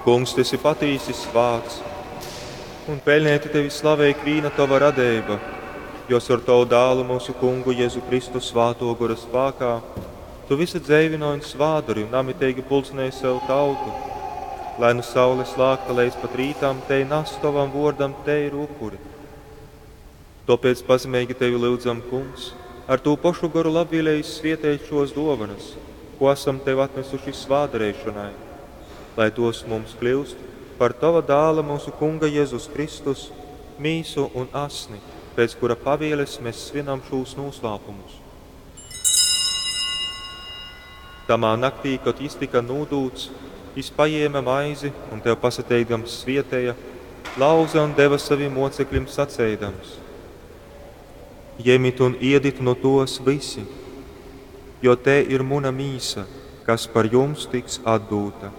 Kungs, tu esi patīsi svāts, un peļneiti tevi slavej ikvīna tova radeiba, jo caur tovu dālu mūsu Kungu Jezu Kristu svātō gora spākā tu vysu dzeivynoj un svātdori un namiteigi pulcinej sev tautu, lai nu saules lākta leidz pat rītam tei nas tovam vōrdam teiru upuri. Tōpēc pazemeigi tevi lyudzam, Kungs, ar tū pošu goru labvieleigi svieteit šōs dōvonas, kū asam tev atnasuši svātdareišonai, lai tōs mums kļyust par tova Dāla, myusu Kunga Jezus Kristus, mīsu un asni, pēc kura pavieles mes svinam šūs nūslāpumus. Tamā naktī, kod jys tyka nūdūts, jys pajēme maizi un tev pasateikdams svieteja, lauze un deva savim mocekļim saceidams: Jemit un iedit nu tōs vysi, jo tei ir muna mīsa, kas par jums tiks atdūta.